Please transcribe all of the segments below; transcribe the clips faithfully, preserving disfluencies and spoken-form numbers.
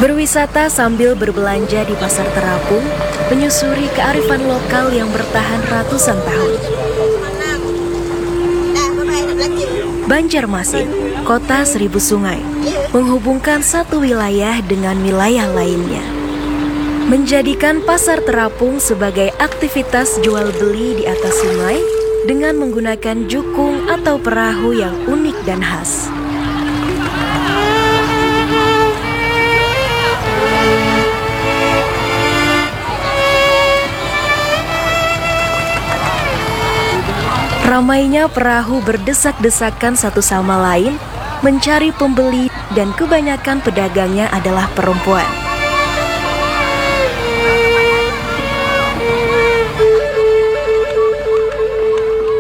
Berwisata sambil berbelanja di Pasar Terapung, menyusuri kearifan lokal yang bertahan ratusan tahun. Banjarmasin, kota seribu sungai, menghubungkan satu wilayah dengan wilayah lainnya. Menjadikan Pasar Terapung sebagai aktivitas jual beli di atas sungai dengan menggunakan jukung atau perahu yang unik dan khas. Ramainya perahu berdesak-desakan satu sama lain mencari pembeli, dan kebanyakan pedagangnya adalah perempuan.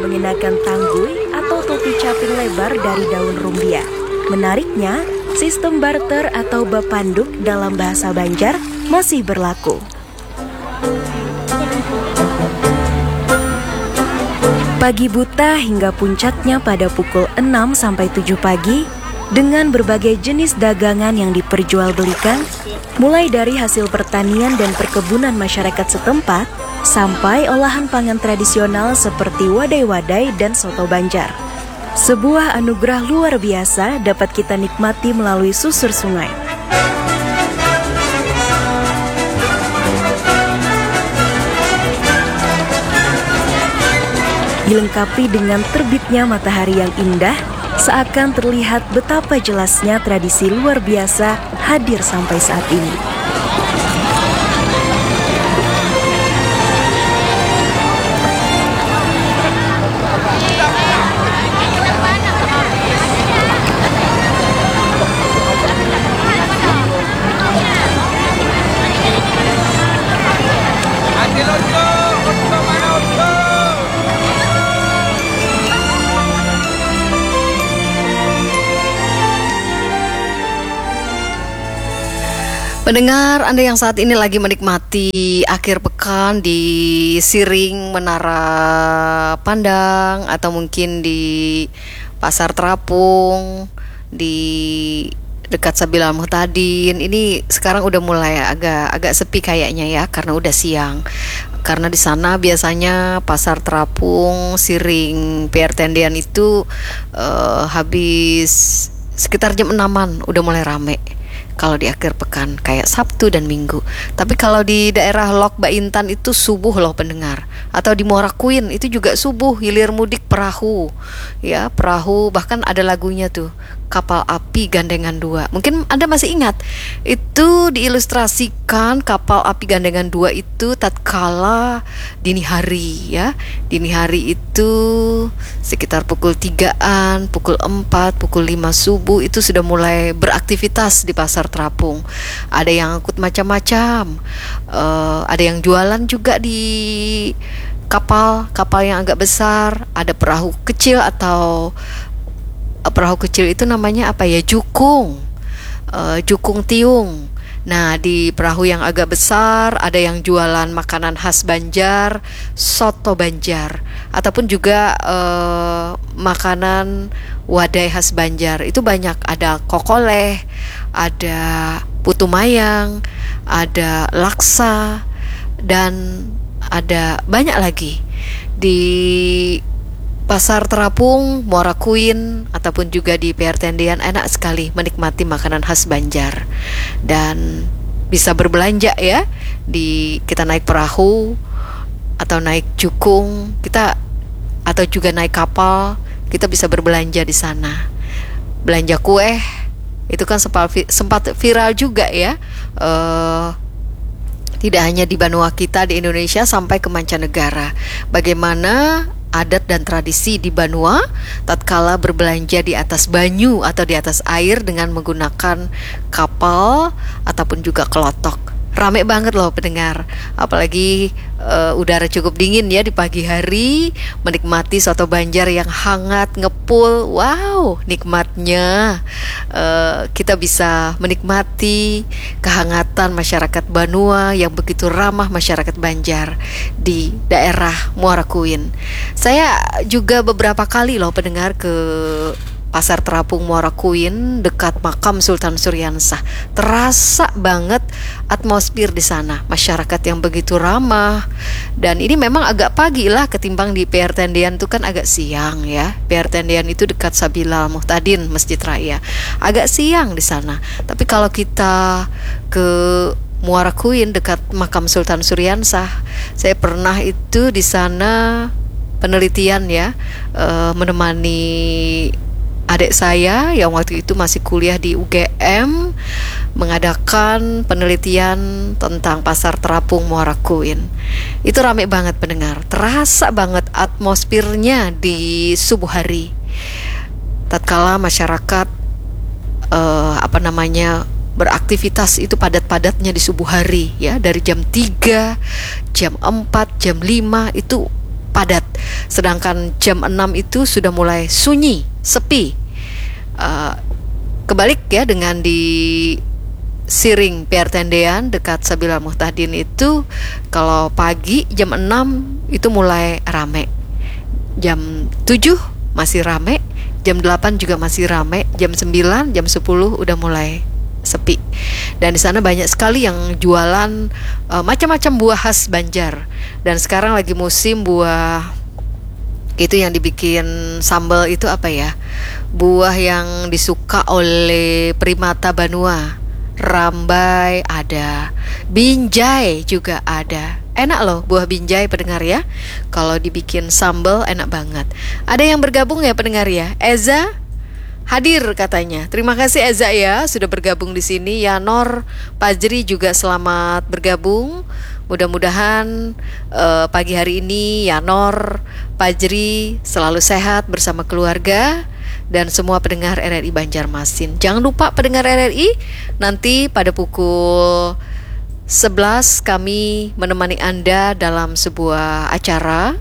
Mengenakan tanggui atau topi caping lebar dari daun rumbia. Menariknya, sistem barter atau bapanduk dalam bahasa Banjar masih berlaku. Pagi buta hingga puncaknya pada pukul enam sampai tujuh pagi, dengan berbagai jenis dagangan yang diperjualbelikan, mulai dari hasil pertanian dan perkebunan masyarakat setempat, sampai olahan pangan tradisional seperti wadai-wadai dan soto Banjar. Sebuah anugerah luar biasa dapat kita nikmati melalui susur sungai. Dilengkapi dengan terbitnya matahari yang indah, seakan terlihat betapa jelasnya tradisi luar biasa hadir sampai saat ini. Pendengar Anda yang saat ini lagi menikmati akhir pekan di Siring Menara Pandang atau mungkin di Pasar Terapung, di dekat Sabilal Muhtadin, ini sekarang udah mulai agak agak sepi kayaknya ya, karena udah siang. Karena di sana biasanya Pasar Terapung, Siring, P R Tendian itu eh, habis sekitar jam enaman udah mulai rame. Kalau di akhir pekan kayak Sabtu dan Minggu. Tapi kalau di daerah Lok Baintan itu subuh loh, pendengar. Atau di Muara Kuin itu juga subuh, hilir mudik perahu. Ya, perahu, bahkan ada lagunya tuh, Kapal Api Gandengan Dua. Mungkin Anda masih ingat, itu diilustrasikan kapal api Gandengan Dua itu tatkala dini hari, ya. Dini hari itu sekitar pukul tigaan, pukul empat, pukul lima subuh itu sudah mulai beraktivitas di Pasar Terapung. Ada yang angkut macam-macam. Eh, ada yang jualan juga di kapal, kapal yang agak besar, ada perahu kecil atau, eh, perahu kecil itu namanya apa ya? Jukung. Eh, jukung tiung. Nah, di perahu yang agak besar ada yang jualan makanan khas Banjar, soto Banjar, ataupun juga eh, makanan wadai khas Banjar. Itu banyak, ada kokoleh, ada putu mayang, ada laksa, dan ada banyak lagi. Di Pasar Terapung, Muara Kuin, ataupun juga di P R Tendian, enak sekali menikmati makanan khas Banjar. Dan bisa berbelanja ya, di kita naik perahu atau naik jukung, kita atau juga naik kapal, kita bisa berbelanja di sana. Belanja kue itu kan sempat vi- sempat viral juga ya. Eh, tidak hanya di banua kita di Indonesia, sampai ke mancanegara. Bagaimana adat dan tradisi di banua tatkala berbelanja di atas banyu atau di atas air dengan menggunakan kapal ataupun juga kelotok. Rame banget loh, pendengar. Apalagi eh, udara cukup dingin ya di pagi hari, menikmati soto Banjar yang hangat, ngepul. Wow, nikmatnya. Eh, kita bisa menikmati kehangatan masyarakat banua yang begitu ramah masyarakat Banjar di daerah Muara Kuin. Saya juga beberapa kali loh, pendengar, ke Pasar Terapung Muara Kuin dekat makam Sultan Suriansah. Terasa banget atmosfer di sana, masyarakat yang begitu ramah. Dan ini memang agak pagi lah ketimbang di P R Tendean tuh kan agak siang ya. P R Tendean itu dekat Sabila Al Muhtadin, Masjid Raya. Agak siang di sana. Tapi kalau kita ke Muara Kuin dekat makam Sultan Suriansah, saya pernah itu di sana penelitian ya, eh, menemani adik saya yang waktu itu masih kuliah di U G M mengadakan penelitian tentang Pasar Terapung Muara Kuin. Itu rame banget pendengar, terasa banget atmosfernya di subuh hari. Tatkala masyarakat, eh, apa namanya, beraktivitas itu padat-padatnya di subuh hari ya, dari jam tiga, jam empat, jam lima itu padat. Sedangkan jam enam itu sudah mulai sunyi, sepi. Eh, kebalik ya dengan di Siring P R Tendean dekat Sabila Muhtadin itu, kalau pagi jam enam itu mulai rame. Jam tujuh masih rame, jam delapan juga masih rame, jam sembilan, jam sepuluh udah mulai sepi. Dan di sana banyak sekali yang jualan, eh, macam-macam buah khas Banjar. Dan sekarang lagi musim buah itu yang dibikin sambal itu apa ya? Buah yang disuka oleh primata banua. Rambai ada, binjai juga ada. Enak loh buah binjai, pendengar ya. Kalau dibikin sambal enak banget. Ada yang bergabung ya, pendengar ya? Eza hadir katanya. Terima kasih Eza ya sudah bergabung di sini. Yanor Pajri juga selamat bergabung. Mudah-mudahan, eh, pagi hari ini Yanor Pajri selalu sehat bersama keluarga dan semua pendengar R R I Banjarmasin. Jangan lupa pendengar R R I, nanti pada pukul sebelas kami menemani Anda dalam sebuah acara,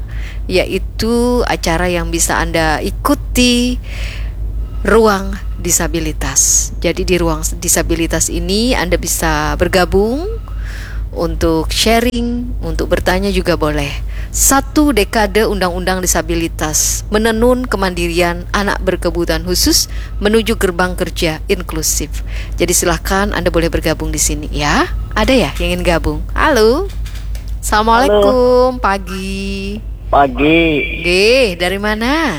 yaitu acara yang bisa Anda ikuti, ruang disabilitas. Jadi di ruang disabilitas ini Anda bisa bergabung untuk sharing, untuk bertanya juga boleh. Satu dekade undang-undang disabilitas, menenun kemandirian anak berkebutuhan khusus menuju gerbang kerja inklusif. Jadi silahkan Anda boleh bergabung di sini ya. Ada ya yang ingin gabung? Halo. Assalamualaikum, pagi. Pagi. Gih, dari mana?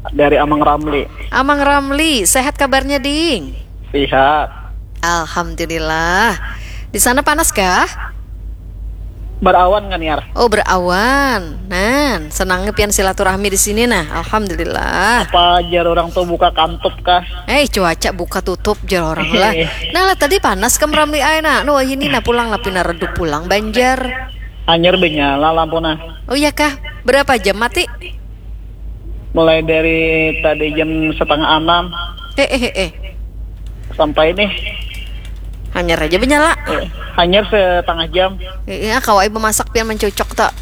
Dari Amang Ramli. Amang Ramli, sehat kabarnya, Ding? Sehat. Alhamdulillah. Di sana panas kah? Berawan kan, Yar? Oh, berawan. Nan, senangnya pian silaturahmi di sini nah. Alhamdulillah. Apa jar orang tuh buka kantup kah? Eh, cuaca buka tutup jar orang lah. Nah, lah tadi panas kam Ramli ai nah. Nuh, ini nah pulang lah pina redup pulang Banjar. Hanyar benyala lampu nah. Oh iya kah? Berapa jam mati? Mulai dari tadi jam setengah enam. Eh, eh, eh. Sampai nih. Hanyar aja benyala. Eh, hanyar setengah jam. Eh, eh, kawai bemasak pian mencucok tak?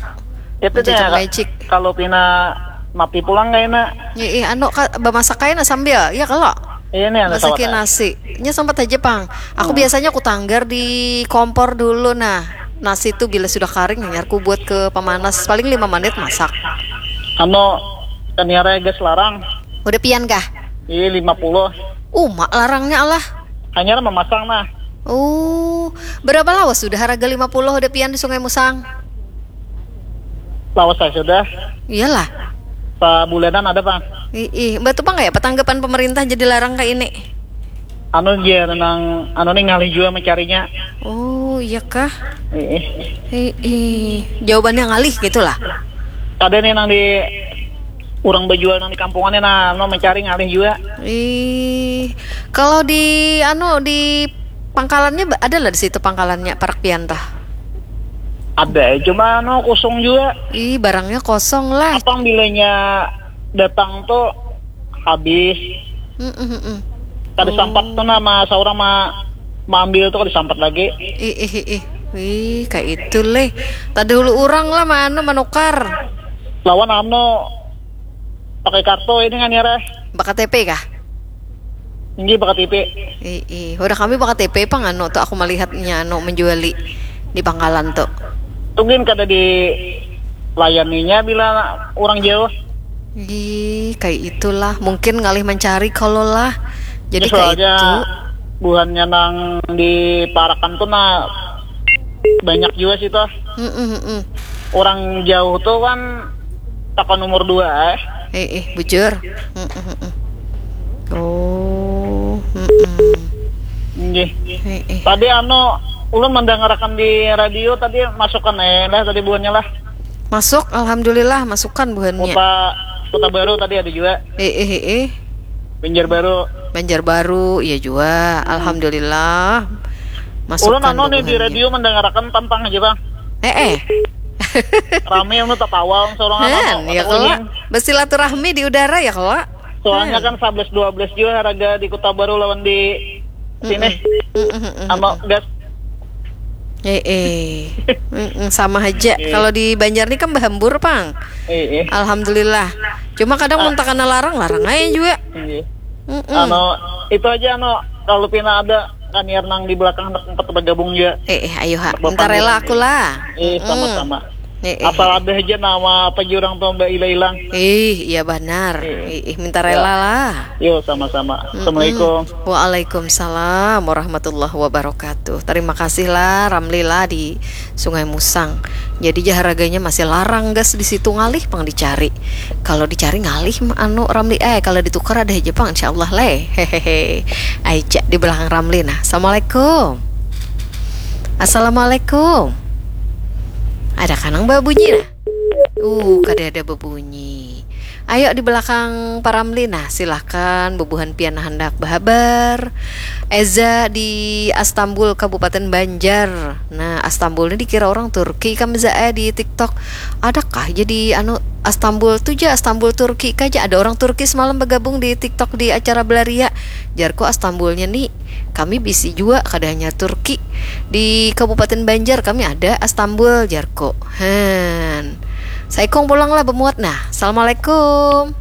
Itu deh, mencucok magic. Kalau pina mati pulang kayak nak. Eh, eh, anu, bemasak kayak nak sambil, ya kalau? Iya nih, ada masakin nasi. Nya sempat aja pang. Aku hmm. Biasanya aku tanggar di kompor dulu nah. Nasi tuh bila sudah karing, hanyar ku buat ke pemanas paling lima menit masak. Anu, kaniara gas larang. Udah pian kah? Iya, lima puluh. Uma larangnya Allah. Hanyar memasang nah. Oh, berapa lawas sudah harga lima puluh udah pian di Sungai Musang? Lawas saya sudah. Iyalah. Sebulanan ada, Bang. Ih, ih. Mbak tuh, Bang, ya, petanggapan pemerintah jadi larang kayak ini? Anu dia nang anu nih ngalih juga mencarinya. Oh, iya kah? Ih, ih. Ih, ih. Jawabannya ngalih gitulah. Ada nih nang di orang berjual nang di kampungannya nah, anu mencari ngalih juga. Ih, kalau di anu di pangkalannya ada lah di situ pangkalannya parak pian tah. Ada, cuma anu kosong juga. Ih, barangnya kosong lah. Apang bilanya datang tuh habis. Mm, mm, mm. Tadi oh. Sampat tuh nama seorang ma maambil tuh disampat lagi. Ih, ih, ih. Wih, kayak itu leh. Tadi dulu orang lah mana menukar. Lawan anu pakai kartu ini kan ya, Reh? Pakai K T P kah? Ini pakai K T P. Ih, ih. Udah kami pakai K T P pang anu tuh aku melihatnya anu menjuali di pangkalan tuh. Tungguin kada di layaninya bila orang jauh. Ih, kayak itulah. Mungkin ngalih mencari kalau lah. Jadi Ini kayak soalnya itu. Buhannya nang di Parakan tuh nah banyak juga sih tuh. Mm-mm, mm-mm. Orang jauh tuh kan takkan nomor dua eh. Eh, eh, bujur. Mm-mm, mm-mm. Oh, mm-mm. Nggih. Eh, eh. Tadi anu ulun mendengarkan di radio tadi masukan eh lah tadi buhannya lah. Masuk, alhamdulillah, masukan buhannya. Kota Kota Baru tadi ada juga. Eh, eh, eh, eh. Banjarbaru. Banjarbaru, iya juga. Alhamdulillah. Masukan Ulun anu nih di bubuhannya. Radio mendengarkan tampang aja bang. Eh, eh. Rame anu tatawa seorang Han, anu. Ya kalau bersilaturahmi di udara ya kalau. Soalnya kan sebelas dua belas juga harga di Kota Baru lawan di sini. Mm-mm, mm-mm. Anu gas. Eh, eh. Mm-mm, sama aja. Kalau di Banjar nih kan bahambur pang. Eh, eh. Alhamdulillah. Cuma kadang mun takana larang, larang aja juga. Iya. Mm-mm. Anu itu aja anu kalau pina ada kaniar nang di belakang hendak empat bergabung juga. Eh, eh, ayo ha. Bapak Minta rela Nurul. Aku lah. Eh Mm-mm. sama-sama. Eh, eh. Asal ada aja nama apa jurang tuh mbak hilang-hilang. Ih, iya banar. Eh, eh, minta rela lah. Yo sama-sama. Assalamualaikum. Waalaikumsalam warahmatullahi wabarakatuh. Terima kasih lah Ramli lah di Sungai Musang. Jadi ja harganya masih larang gas di situ ngalih pang dicari. Kalau dicari ngalih anu Ramli eh kalau ditukar ada aja pang insyaallah leh. Hehehe. Aja di belakang Ramli nah. Assalamualaikum. Assalamualaikum. Ada kanang babunyi nah? Uh, kada ada babunyi. Ayo di belakang Pak Ramli nah, silahkan bubuhan pian handak bahabar. Eza di Astambul Kabupaten Banjar. Nah, Astambul ini dikira orang Turki kam Za eh di TikTok. Adakah jadi anu Astambul tu ja Astambul Turki kaja ada orang Turki semalam bergabung di TikTok di acara belaria. Jarku Astambulnya ni kami bisi jua kada hanya Turki. Di Kabupaten Banjar kami ada Astambul jarku. Han. Saikung pulang lah bemuat nah. Assalamualaikum.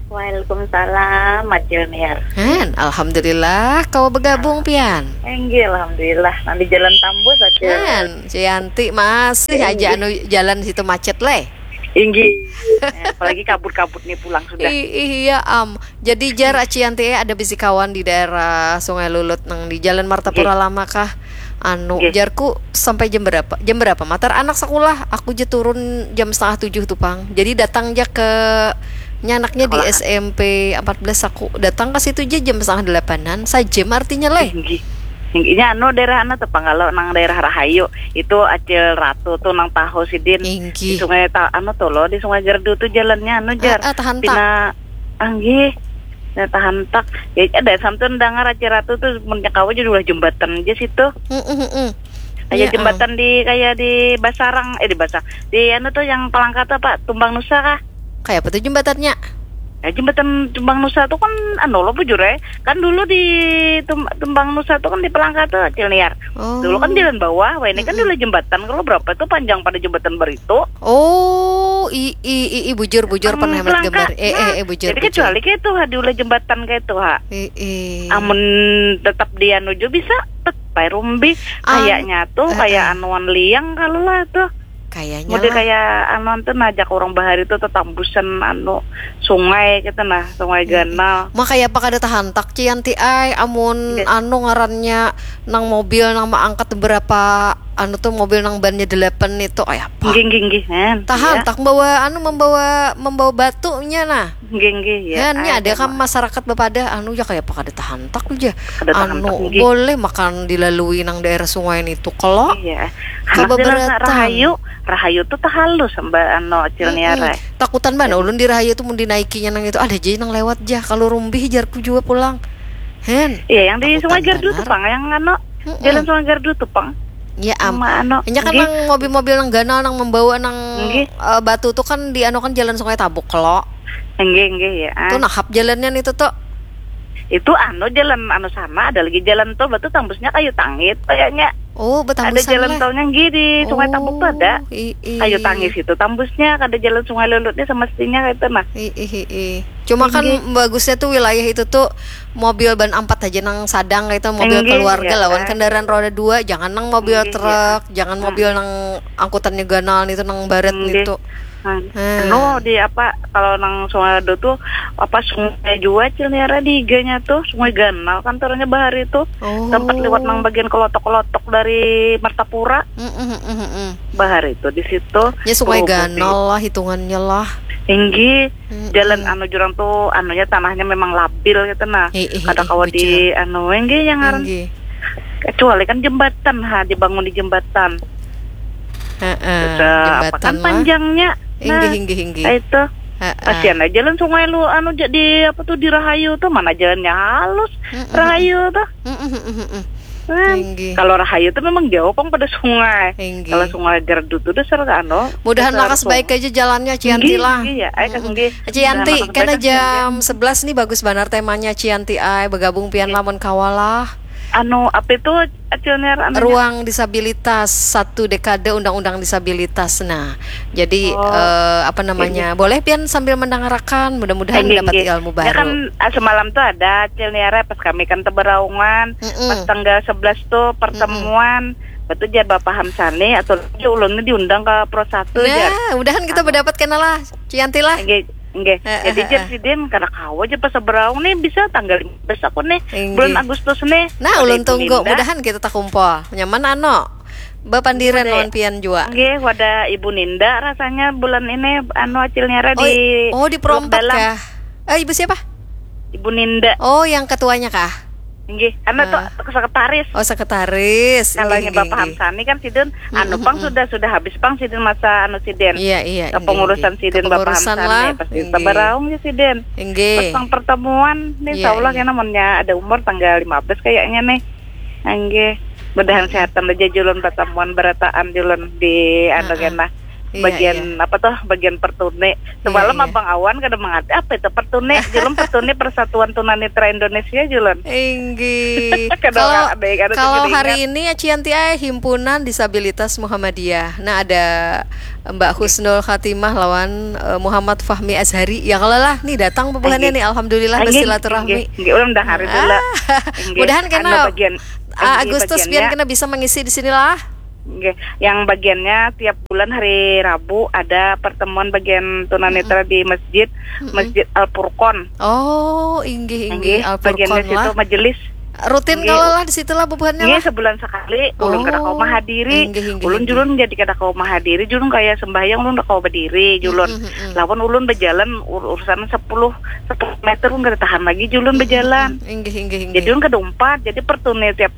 Waalaikumsalam, Acil Niar. Han, alhamdulillah kawa bergabung pian. Enggih, alhamdulillah. Nanti jalan tambus aja. Han, Cianti masih aja anu jalan situ macet leh. Inggih. Eh, apalagi kabut-kabut nih pulang sudah. I- iya am. Jadi jar Cianti eh, ada bisi kawan di daerah Sungai Lulut nang di Jalan Martapura Lama kah? Anu Nggih. Jarku sampai jam berapa? Jam berapa? Matar anak sekolah. Aku je turun jam setengah tujuh tuh pang. Jadi datang ja ke nyanaknya di Sekolah. S M P empat belas aku datang ke situ je jam setengah delapanan sajam artinya leh. Inggih. Inggihnya anu daerah anu tuh pang kalau nang daerah Rahayu itu Acil Ratu tuh nang tahu sidin. Di Inggih. Sungai Ta- anu tuh loh di Sungai Gerdu tuh jalannya anu jar. Ah, ah, tahantak. Pina anggih. Nah, tahantak. Ya ada samtun dengar Acil Ratu tuh mun nyakawa jadi ulah jembatan aja situ. Mm, mm, mm. Kayak Ya, jembatan di kayak di Basarang eh di Basar di anu tuh yang Palangka tuh apa Tumbang Nusa kah? Kayak apa tuh jembatannya? Ya, jembatan Tumbang Nusa tuh kan anu lo bujur eh. Kan dulu di Tum- Tumbang Nusa tuh kan di Palangka tuh Acil Niar. Oh. Dulu kan jalan bawah, wah ini kan dulu jembatan kalau berapa tuh panjang pada jembatan baritu. Oh, i i i, i bujur bujur Pang pernah melihat Palangka. gambar. Eh eh Nah, eh bujur jadi bujur. Kecuali kayak tuh ha, diulah jembatan kayak tuh ha. Eh eh. Amun tetap di anu juga bisa tet pai rumbi An- kayaknya tuh eh, kayak eh. Anuan Liang kalau lah tuh. Kayaknya Mode lah. Kayak anuan tuh najak orang bahari tuh tetambusan anu sungai gitu nah, sungai ganal. Makanya apa kada tahantak Cianti ai amun Nggih. Anu ngarannya nang mobil nang maangkat berapa anu tuh mobil nang bannya delapan itu kayak apa? Nggih nggih nggih kan. Tahantak membawa anu membawa membawa batunya nah. Nggih nggih ya. Kan ini ada kan masyarakat bepadah anu ya kayak apa kada tahantak aja. Kada tahantak, Anu nggih. Boleh makan dilalui nang daerah sungai itu kalau Iya. Kabeberatan. Anak jalan rahayu, rahayu tuh tahalus mbak anu Acil Niar. Mm-mm. Takutan bana ulun di rahayu tuh mun dinaikinya nang itu ada aja nang lewat jah kalau rumbih jarku jua pulang. Hen. Iya yang di Takutan Sungai Gardu tuh banar. Pang, yang anu Mm-mm. Jalan Sungai Gardu tuh Pang. Ya am. Sama anu. Nya kan Nggih. Nang mobil-mobil nang ganal nang membawa nang Nggih. Eh, batu tuh kan di anu kan jalan Sungai Tabuk kalau. Nggih nggih ya. Ah. Tuh nahap jalannya itu tuh. Itu anu jalan anu sama ada lagi jalan tol batu tambusnya kayu tangit kayaknya. Oh, Ada betambusan jalan lah. Tolnya nggih di Sungai Tabuk tuh ada. Oh, i- i- Kayu tangis itu tambusnya ada jalan Sungai Lulutnya semestinya itu nah. I- i- i- i. Cuma kan bagusnya tuh wilayah itu tuh mobil ban empat aja nang sadang kayak itu mobil Nggih, keluarga ya, lawan kan. Kendaraan roda dua jangan nang mobil Nggih, truk jangan mobil nang angkutannya ganal itu nang barat Nggih. Itu Hmm. Anu, di apa, kalau nang Sungai Ado tuh, apa, sungai jua, Cil Niara, di higanya tuh, Sungai Ganal kantornya bahari tuh. Oh. Tempat liwat nang bagian kelotok-kelotok dari Martapura. Mm, mm, mm, mm. Bahari tuh di situ. Ya, Sungai Ganal lah hitungannya lah. Tinggi. Mm, jalan, mm, anu, jurang tuh, anunya, tanahnya memang labil gitu nah. Kada kawa di anu, tinggi yang ngaran. Kecuali kan jembatan, ha, dibangun di jembatan. Heeh, jembatan kan lah. Panjangnya. Inggih, nah, inggih, inggih. Itu. Heeh. Kasihan aja jalan sungai lu, anu, jadi apa tuh, di Rahayu tuh, mana jalannya halus, mm, mm, Rahayu tuh. Mm, mm, mm, mm, mm. Nah, kalau Rahayu tuh memang jauh pang pada sungai. Inggih. Kalau Sungai Gerdu tuh dasar, anu, mudahan dasar lakas baik aja jalannya, Cianti lah. Inggih, inggih, ya. Ai, mm, mm, inggih. Cianti, mudahan lakas baik aja, jam sebelas nih, bagus banar temanya, Cianti ai, bergabung pian lamun kawa lah. Anu, apa itu, Acil Niar, anunya? Ruang disabilitas, satu dekade undang-undang disabilitas. Nah, jadi, oh, eh, apa namanya, boleh pian sambil mendangarakan, mudah-mudahan dapat ilmu baru. Ya kan, ah, semalam tuh ada Acil Niara pas kami kan teberaungan, mm-mm, pas tanggal sebelas tuh pertemuan, mm-mm, betul jar Bapak Hamsani, atau lagi ulun ni diundang ke Pro Satu, jar. Nah, mudahan kita, anu, berdapat kena lah, Cianti lah. Nggih, nggih. Heeh, jadi, heeh, jar sidin, kada kawa aja pas seberaung nih, bisa tanggal lima belas aku nih, inggih, bulan Agustus nih. Nah, ulun tunggu, mudahan kita takumpul. Nyaman, anu, bapandiran lawan pian jua. Nggih, wadah Ibu Ninda rasanya bulan ini, anu, Acil Niara, oh, di, oh, di Pro Empat kah? Eh, Ibu siapa? Ibu Ninda. Oh, yang ketuanya kah? Nggih, anu tuh, ah, sekretaris. Oh, sekretaris. Kalau nya Bapak Hamsani kan sidin, mm-mm, anu pang, mm-mm, sudah, sudah habis pang sidin masa anu sidin. Iya, iya, kepengurusan sidin Bapak Hamsani, pasti seberaung ya sidin. Inggih. Petang pertemuan nih, iya, insya Allah, iya, kena munnya ada umur tanggal lima belas kayaknya nih. Inggih. Mudahan sehatan aja julun, pertemuan berataan julun di anu kena. Iya, bagian, iya, apa tuh, bagian pertune. Semalam, iya, iya, Abang Awan kada mengerti apa itu pertune. Julun pertune Persatuan Tunanetra Indonesia, julun. Inggih. Kalau, kalau hari ini ya, Cianti, eh, Himpunan Disabilitas Muhammadiyah. Nah, ada Mbak Husnul Khatimah lawan, eh, Muhammad Fahmi Azhari. Ya, kalau lah, nih datang bubuhannya nih, alhamdulillah, bersilaturahmi. Inggih, ulun dah hari dulu. Ah, inggih, mudahan kena, anu, bagian, ah, inggih, Agustus bagiannya pian kena bisa mengisi di sinilah. Nggih, yang bagiannya tiap bulan hari Rabu ada pertemuan bagian tunanetra di masjid, Masjid Al Furqon. Oh, inggih, inggih, Al Furqon lah. Bagiannya situ majelis. Rutin kalau lah di situ lah bubuhannya lah. Nggih, sebulan sekali. Ulun kada kawa mahadiri. Inggih, inggih, ulun, inggih. Julun jadi kada kawa mahadiri. Julun kaya sembahyang, ulun kada kawa berdiri, julun. Mm, mm, mm. Lawan ulun berjalan ur-, urusan sepuluh, sepuluh meter, ulun kada tahan lagi, julun berjalan. Mm, mm, mm. Inggih, inggih, inggih. Jadi ulun kada umpat. Jadi pertune tiap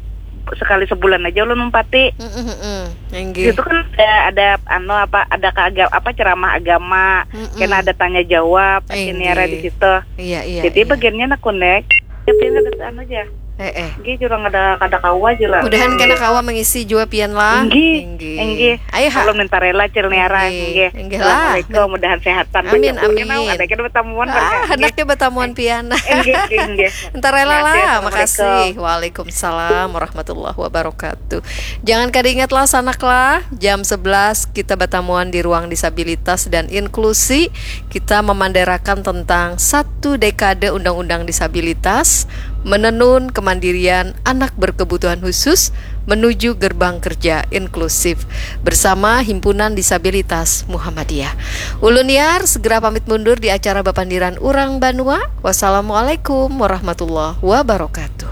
sekali sebulan aja ulun umpati. Mm, mm, mm. Inggih. Itu kan ada, ada, anu, apa, ada keaga-, apa, ceramah agama, mm, mm, kena ada tanya jawab, inggih, Acil Niara di situ. Iya, iya, iya. Jadi bagiannya nak connect, tapi kada anu aja. Eh, eh. Inggih, julun kada, kada kawa aja lah. Mudahan kena kawa mengisi jua pian lah. Inggih, inggih. Ayo, ha. Kalau minta rela, Acil Niara, inggih. Inggih lah. Assalamualaikum, mudahan sehatan. Amin, amin. Ada kita bertemuan, ah, hendak kita bertemuan pian. Inggih, inggih, inggih. Minta rela lah, makasih. Waalaikumsalam warahmatullahi wabarakatuh. Jangan kada ingat lah, sanak lah, jam sebelas kita batamuan di Ruang Disabilitas dan Inklusi. Kita memanderakan tentang satu dekade Undang-Undang Disabilitas, menenun kemandirian anak berkebutuhan khusus menuju gerbang kerja inklusif bersama Himpunan Disabilitas Muhammadiyah. Ulun Yar segera pamit mundur di acara Bapandiran Urang Banua. Wassalamualaikum warahmatullahi wabarakatuh.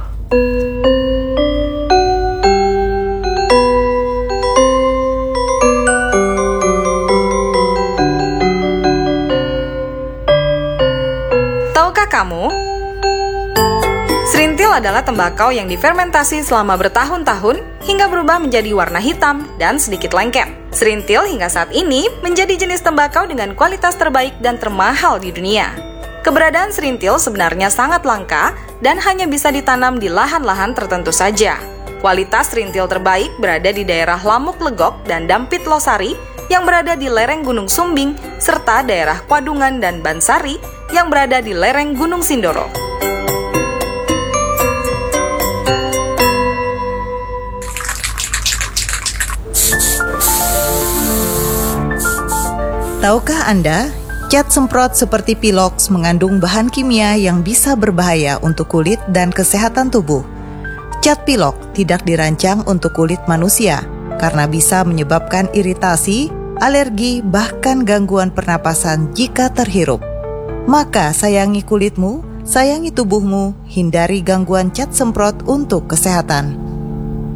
Tahukah kamu? Serintil adalah tembakau yang difermentasi selama bertahun-tahun hingga berubah menjadi warna hitam dan sedikit lengket. Serintil hingga saat ini menjadi jenis tembakau dengan kualitas terbaik dan termahal di dunia. Keberadaan serintil sebenarnya sangat langka dan hanya bisa ditanam di lahan-lahan tertentu saja. Kualitas serintil terbaik berada di daerah Lamuk Legok dan Dampit Losari yang berada di lereng Gunung Sumbing, serta daerah Kuadungan dan Bansari yang berada di lereng Gunung Sindoro. Tahukah Anda, cat semprot seperti Pilox mengandung bahan kimia yang bisa berbahaya untuk kulit dan kesehatan tubuh? Cat Pilox tidak dirancang untuk kulit manusia karena bisa menyebabkan iritasi, alergi, bahkan gangguan pernapasan jika terhirup. Maka sayangi kulitmu, sayangi tubuhmu, hindari gangguan cat semprot untuk kesehatan.